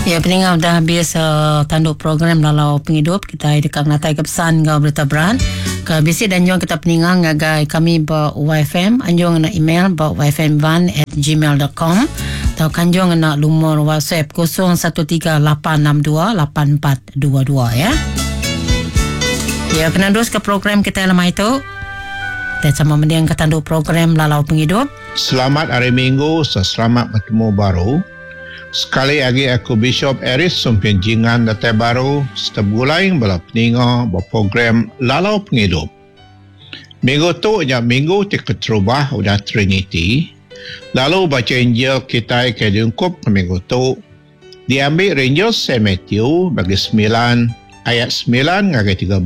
Ya peninga udah habis uh, tandu program lalau pengidup kita deka ngenatai ke pesan enggau berita berat ke bisi dan anjung kita peninga ngagai kami ba YFM anjung ngena email ba yfmvan@gmail.com atau kanjung ngena lumur WhatsApp 0138628422 ya. Ya kena terus ke program kita lemai itu. Kita sama mending ke tandu program lalau pengidup. Selamat Hari Minggu serta selamat betemu baru. Sekali agi aku Bishop Aris Sumpin Jingan datai baru serta begulai bala peninga ba program Lalau Pengidup. Minggu tu nya minggu ti keterubah udah Triniti, lalu bacha Injil kitai ke diungkup ke minggu tu diambi ari Injil Saint Matthew bagi semilan ayat semilan ngagai 13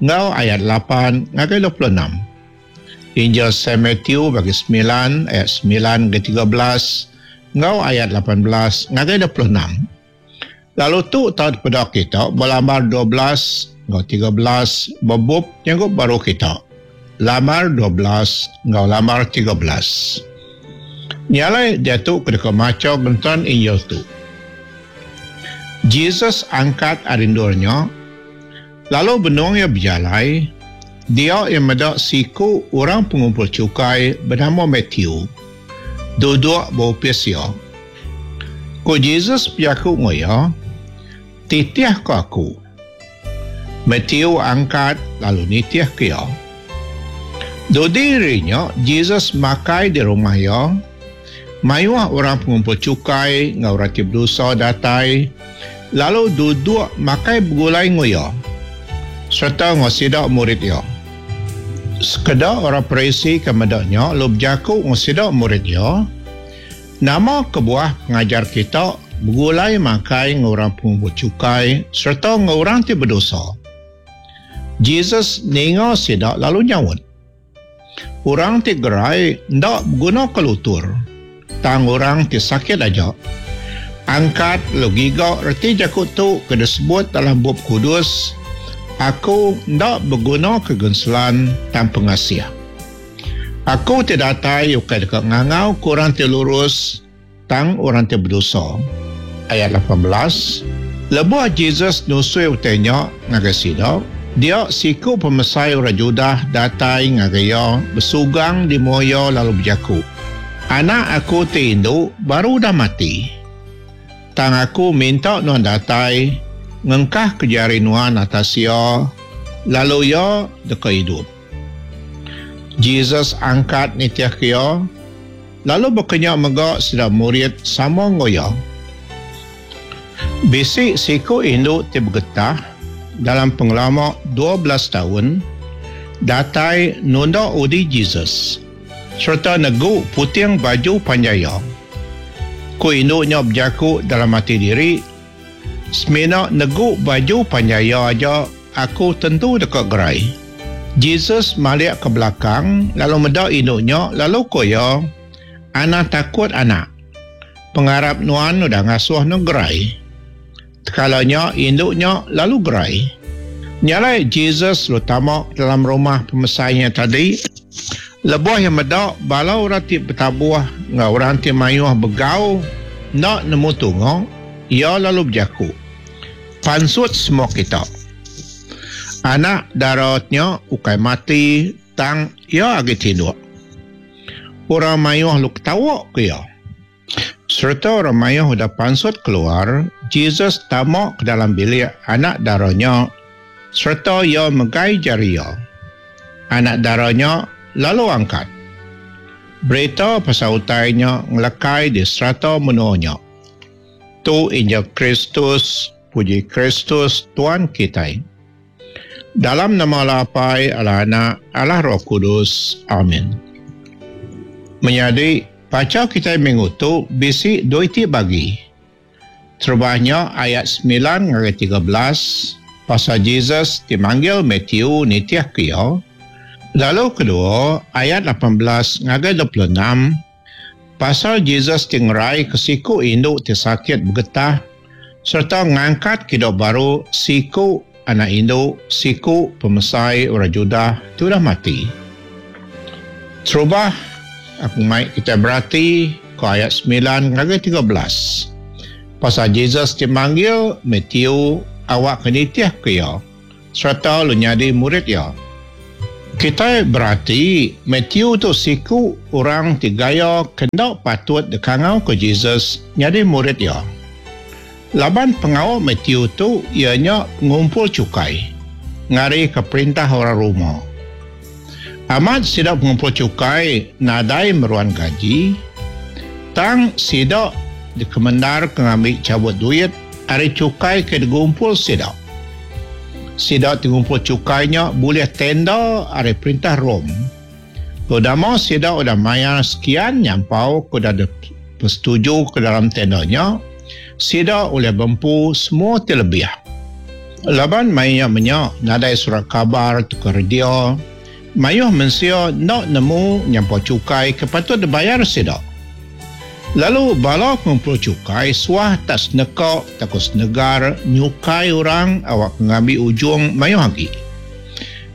enggau ayat lapan ngagai 26. Injil Saint Matthew bagi semilan ayat semilan ngagai 13 enggau ayat 18 ngagai 26. Lalu tu tau dipeda kita ba lambar 12 enggau 13 ba bup Nyanggup Baru kita. Lambar 12 enggau lambar 13. Nya alai diatu ke deka macha genteran Injil tu. Jesus angkat ari endur nya lalu benung iya bejalai, dia iya meda siku orang pengumpul chukai benama Matthew duduk ba opis iya. Ku Jesus bejaku enggau iya, Titihka aku. Matthew angkat lalu nitihka iya. Dudi hari nya, Jesus makai di rumah iya. Mayuh orang pengumpul chukai enggau orang ti bedosa datai lalu duduk makai begulai enggau iya sereta enggau sida murid iya. Sekeda orang Parisi ke meda nya lalu bejaku enggau sida murid iya, Nama kebuah pengajar kita begulai makai enggau orang pengumpul chukai sereta enggau orang ti bedosa? Jesus ninga sida lalu nyaut, Orang ti gerai enda begunaka lutur, tang orang ti sakit aja. Angkat lalu giga reti jaku tu ke disebut dalam Bup Kudus, Aku enda begunaka genselan tang pengasih. Aku ti datai ukai deka ngangauka orang ti lurus, tang orang ti bedosa. Ayat 18, Lebuh Jesus nusui utai nya ngagai sida, dia siku pemesai orang Judah datai ngagai iya besugang di mua iya lalu bejaku, Anak aku ti indu baru udah mati. Tang aku minta nuan datai ngengkahka jari nuan atas iya, lalu iya deka idup. Jesus angkat nitihka iya, lalu baka nya mega sida murid sama enggau iya. Bisi siku indu ti begetah dalam pengelama 12 taun datai nunda udi Jesus sereta negu puting baju panjai iya. Ku indu nya bejaku dalam ati diri, Semina negu baju panjai iya aja, aku tentu deka gerai. Jesus malik ke belakang lalu meda indu nya lalu ku iya, Anang takut anak. Pengarap nuan udah ngasuh nuan gerai. Tekala nya indu nya lalu gerai. Nya alai Jesus lalu tama ke dalam rumah pemesai nya tadi. Lebuh iya meda bala orang ti betabuh enggau orang ti mayuh begau enda nemu tunga, iya lalu bejaku, Pansut semua kita. Anak dara nya ukai mati tang iya agi tinduk. Orang mayuh lalu ketawa ke iya. Sereta orang mayuh udah pansut keluar, Jesus tama ke dalam bilik anak dara nya sereta iya megai jari iya. Anak dara nya lalu angkat. Berita pasal utai nya ngelekai di serata menua nya. Tu Injil Kristus, puji Kristus Tuan kitai. Dalam nama Allah Apai, Allah Anak, Allah Roh Kudus. Amin. Menyadi, bacha kitai minggu tu bisi dua iti bagi. Terubah nya ayat semilan ngagai 13 pasal Jesus ti manggil Matthew nitihka iya. Lalu kedua, ayat 18 ngagai 26 pasal Jesus ti ngeraika siku indu ti sakit begetah sereta ngangkatka idup baru siku anak indu siku pemesai orang Judah ti udah mati. Terubah, aku mai kitai berati ke ayat semilan ngagai 13. Pasal Jesus ti manggil Matthew awakka nitihka iya sereta lalu nyadi murid iya. Kitai berati Matthew tu siku orang ti gaya ke enda patut dikangauka Jesus nyadi murid iya. Laban pengawa Matthew tu iya nya pengumpul chukai ngarika perintah orang Roma. Amat sida pengumpul chukai nadai meruan gaji, tang sida dikemendarka ngambi chabut duit ari chukai ke digumpul sida. Sida ti ngumpul chukai nya bulih tenda ari perintah Rome. Udama sida udah mayar sekian nyampau ke udah dipesetujuka dalam tenda nya, sida ulih bempu semua ti lebih. Laban maya nya menya nadai surat kabar tauka radio, mayuh mensia enda nemu nyampau chukai ke patut dibayar sida. Lalu bala pengumpul chukai suah tak seneka tauka senegar nyukai orang awakka ngambi ujung mayuh agi.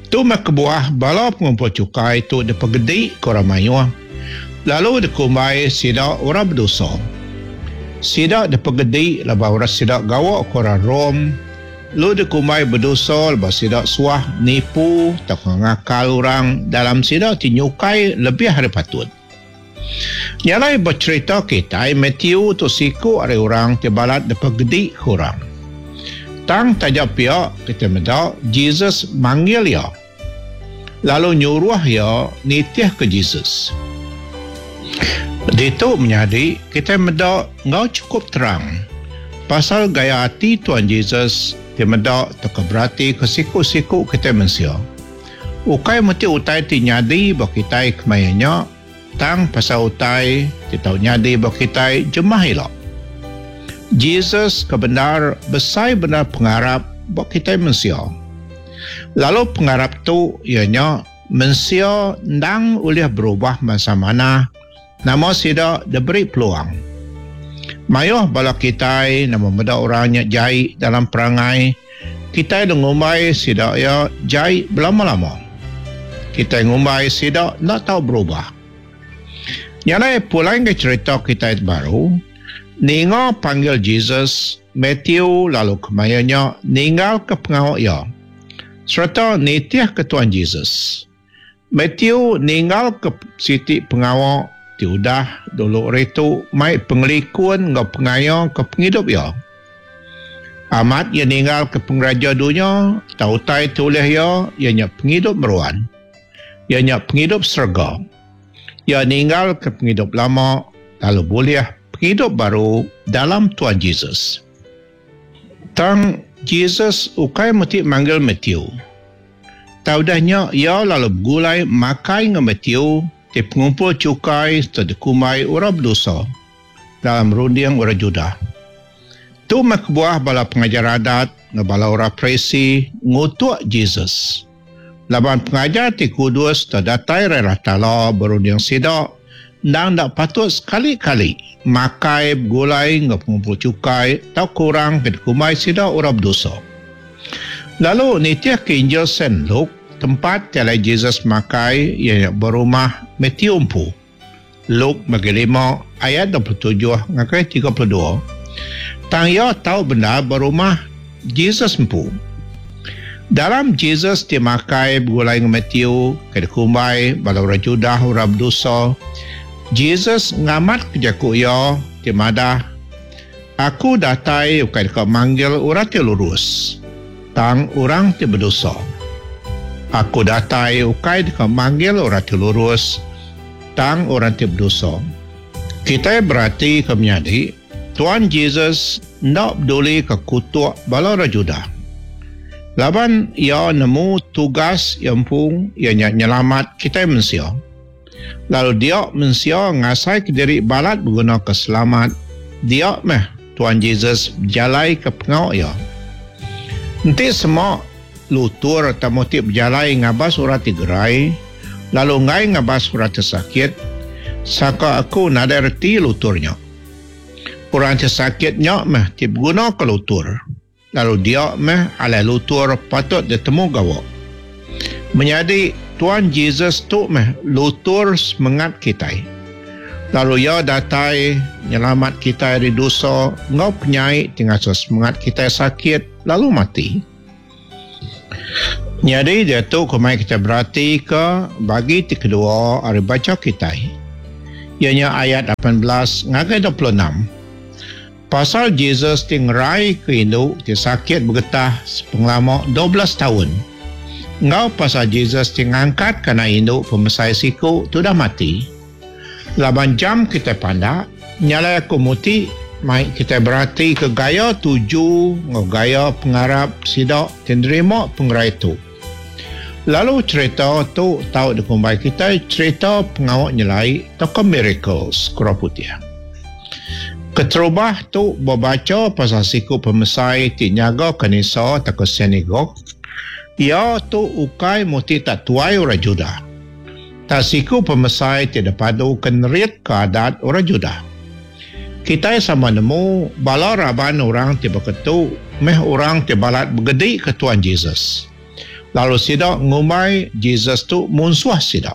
Tu meh kebuah bala pengumpul chukai tu dipegedika orang mayuh lalu dikumbai sida orang bedosa. Sida dipegedi laban orang sida gawa ke orang Rome lalu dikumbai bedosa laban sida suah nipu tauka ngakal orang dalam sida ti nyukai lebih ari patut. Nya alai ba cherita kitai Matthew tu siku ari orang ti balat dipegedika orang. Tang taja pia kitai meda Jesus manggil iya lalu nyuruh iya nitihka Jesus. Ditu menyadi kitai meda enggau chukup terang pasal gaya ati Tuan Jesus ti meda tauka beratika siku-siku kitai mensia. Ukai meti utai ti nyadi ba kitai kemaya nya, tang pasal utai ti tau nyadi ba kitai jemah ila. Jesus ke bendar besai bendar pengarap ba kitai mensia. Lalu pengarap tu iya nya mensia endang ulih berubah bansa manah nama sida diberi peluang. Mayuh bala kitai nama meda orang nya jai dalam perangai, kitai deh ngumbai sida iya jai belama-lama. Kitai ngumbai sida enda tau berubah. Nya alai pulai ngagai cherita kitai ti baru, ninga panggil Jesus, Matthew lalu kemaya nya ninggalka pengawa iya sereta nitihka Tuan Jesus. Matthew ninggalka siti pengawa ti udah dulu ari tu mai pengelikun enggau pengaya ke pengidup iya. Amat iya ninggalka pengeraja dunya tang utai ti ulih iya, iya nya pengidup meruan. Iya nya pengidup serega. Iya ninggalka pengidup lama lalu bulih pengidup baru dalam Tuan Jesus. Tang Jesus ukai meti manggil Matthew. Tang udah nya iya lalu begulai makai enggau Matthew ti pengumpul chukai sereta dikumbai orang bedosa dalam runding orang Judah. Tu meh kebuah bala pengajar adat enggau bala orang Parisi ngutuk Jesus. Laban pengajar ti kudus sereta datai ari Allah Taala berunding sida endang enda patut sekali-kali makai begulai enggau pengumpul chukai tauka orang ke dikumbai sida orang bedosa. Lalu nitihka Injil Saint Luke, tempat ti alai Jesus makai iya nya ba rumah Matthew empu. Luke bagi lima ayat 27 ngagai 32. Tang iya tau bendar ba rumah Jesus empu. Dalam Jesus ti makai begulai enggau Matthew ke dikumbai bala orang Judah orang bedosa, Jesus ngamatka jaku iya ti madah, Aku datai ukai deka manggil orang ti lurus, tang orang ti bedosa. Aku datai ukai deka manggil orang ti lurus, tang orang ti bedosa. Kitai beratika menyadi, Tuan Jesus enda bedulika kutuk bala orang Judah. Laban iya nemu tugas iya empu iya nya nyelamat kitai mensia. Lalu dia mensia ngasaika diri balat begunaka selamat, dia meh Tuan Jesus bejalaika pengawa iya. Enti sema lutur tauka ti bejalai ngabas orang ti gerai, lalu enggai ngabas orang ti sakit, saka aku nadai reti lutur nya. Orang ti sakit nya meh ti begunaka lutur. Lalu dia meh alai lutur patut ditemu gawa. Menyadi, Tuan Jesus tu meh lutur semengat kitai. Lalu Iya datai nyelamat kitai ari dosa enggau penyai ti ngasuh semengat kitai sakit lalu mati. Nyadi diatu ku mai kitai beratika bagi ti kedua ari bacha kitai, iya nya ayat 18 ngagai 26, pasal Jesus ti ngeraika indu ti sakit begetah sepengelama 12 taun, enggau pasal Jesus ti ngangkatka anak indu pemesai siku ti udah mati. Laban jam kitai pandak, nya alai aku muti mai kitai beratika gaya tuju enggau gaya pengarap sida ti nerima pengerai tu. Lalu cherita tu tau dikumbai kitai cherita pengawa nyelai tauka miracles ku orang putih. Keterubah tu bebacha pasal siku pemesai ti nyaga kanisa tauka synagogue, iya tu ukai muti tak tuai orang Judah. Tang siku pemesai ti dipaduka neritka adat orang Judah. Kitai sama nemu bala raban orang ti baka tu meh orang ti balat begedika Tuan Jesus, lalu sida ngumbai Jesus tu munsuh sida.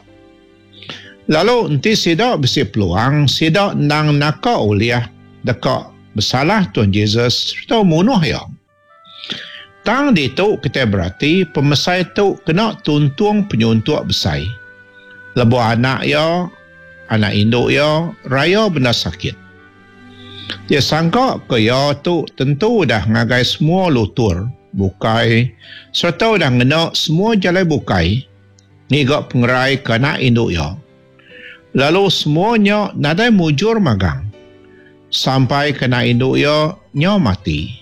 Lalu enti sida bisi peluang, sida endang naka ulih deka besalah Tuan Jesus sereta munuh iya. Tang ditu kitai berati pemesai tu kena tuntung penyuntuk besai. Lebuh anak iya, anak indu iya, raya bendar sakit. Dia sangka ke iya tu tentu udah ngagai semua lutur bukai sereta udah ngena semua jalai bukai ngiga pengerai ke anak indu iya. Lalu semua nya nadai mujur magang sampai ke anak indu iya nyau mati.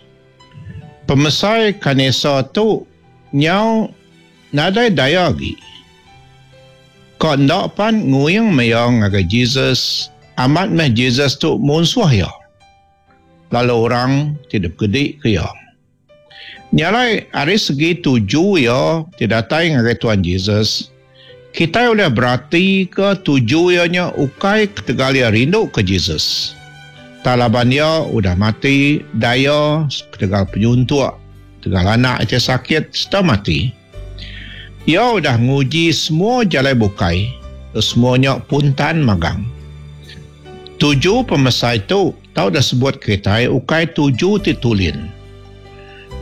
Pemesai kanisa tu nyau nadai daya agi. Ka enda pan nguing meh iya ngagai Jesus, amat meh Jesus tu munsuh iya, lalu orang ti dipegedika iya. Nya alai ari segi tuju iya ti datai ngagai Tuan Jesus, kitai ulih beratika tuju iya nya ukai ketegal iya rinduka Jesus. Tang laban iya udah mati daya ketegal penyuntuk, ketegal anak iya ti sakit sereta mati. Iya udah nguji semua jalai bukai, lalu semua nya puntan magang. Tuju pemesai tu tau disebut kitai ukai tuju ti tulin.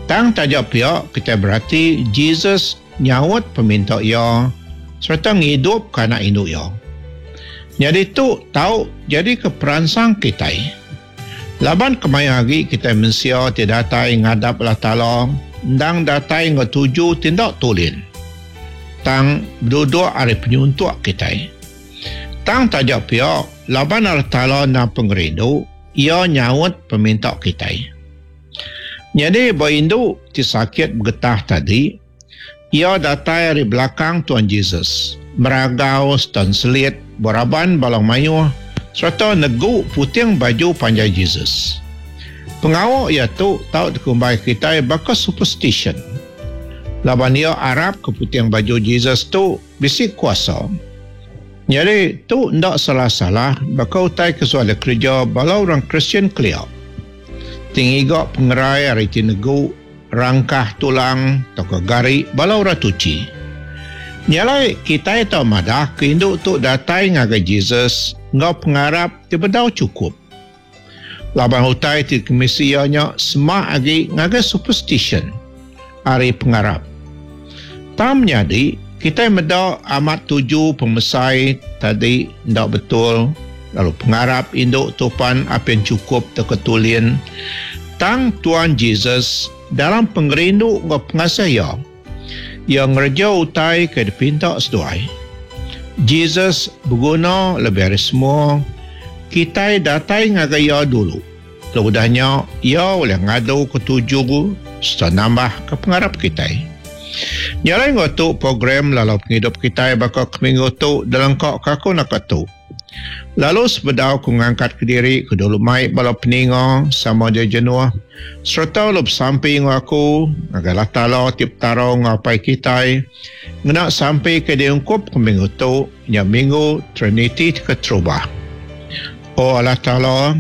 Tang taja pia kitai berati Jesus nyaut peminta iya sereta ngidupka anak indu iya. Nyadi tu tau nyadika peransang kitai. Laban kemaya agi kitai mensia ti datai ngadap Allah Taala endang datai enggau tuju ti enda tulin tang beduduk ari penyuntuk kitai. Tang taja pia, laban Allah Taala endang pengerindu, Iya nyaut peminta kitai. Nyadi ba indu ti sakit begetah tadi, iya datai ari belakang Tuan Jesus, meragau sereta enselit ba raban bala mayuh sereta negu puting baju panjai Jesus. Pengawa iya tu tau dikumbai kitai baka superstition, laban iya arapka puting baju Jesus tu Bisi kuasa. Nyadi, tu enda salah-salah baka utai ke suah dikereja bala orang Kristian kelia ti ngiga pengerai ari ti negu rangkah tulang tauka gari bala orang tuchi. Nya alai, kitai tau madah ke indu tu datai ngagai Jesus enggau pengarap ti bedau chukup. Laban utai ti dikemisi iya nya semak agi ngagai superstition ari pengarap. Tang menyadi, kitai meda amat tuju pemesai tadi enda betul lalu pengarap indu tu pan apin chukup tauka tulin. Tang Tuan Jesus dalam pengerindu enggau pengasih iya, iya ngereja utai ke dipinta seduai. Jesus beguna lebih ari semua, kitai datai ngagai iya dulu. Lalu udah nya, iya ulih ngaduka tuju sereta nambahka pengarap kitai. Nya alai enggau tu program lalau pengidup kitai baka ke minggu tu dilengkaka aku naka tu. Lalu sebedau ku ngangkat kediri ku dulu mai bala peninga sama dia jenuh sereta lalu besampi enggau aku ngagai Allah Taala ti Petara enggau Apai kitai ngena sampi ke diungkup ke minggu tu nya minggu Triniti ti keterubah. O Allah Taala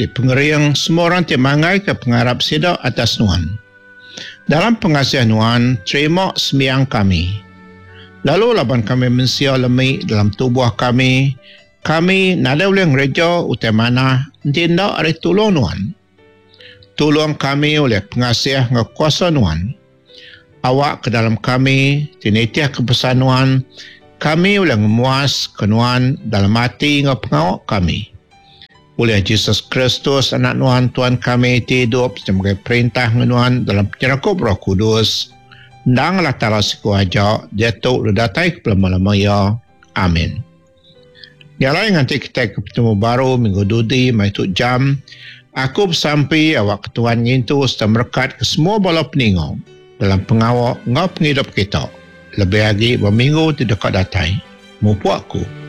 ti pengering semua orang ti manggaika pengarap sida atas Nuan. Dalam pengasih Nuan, terima sembiang kami. Lalu laban kami mensia lemi dalam tubuh kami, Kami nadai ulih ngereja utai manah enti enda ari tulung Nuan. Tulung kami ulih pengasih enggau kuasa Nuan. Awakka dalam kami ti nitihka pesan Nuan, kami ulih ngemuaska Nuan dalam ati enggau pengawa kami. Ulih Jesus Kristus, Anak Nuan, Tuan kami ti idup sebagai perintah enggau Nuan dalam penyerakup Roh Kudus, endang Allah Taala siku aja, diatu lalu datai ke belama-lama iya. Amin. Nya alai nganti kitai ke betemu baru minggu dudi meh tu jam, aku besampi awakka Tuhan ngintu sereta merekatka semua bala peninga dalam pengawa enggau pengidup kita lebih agi ba minggu ti deka datai. Mupuk aku.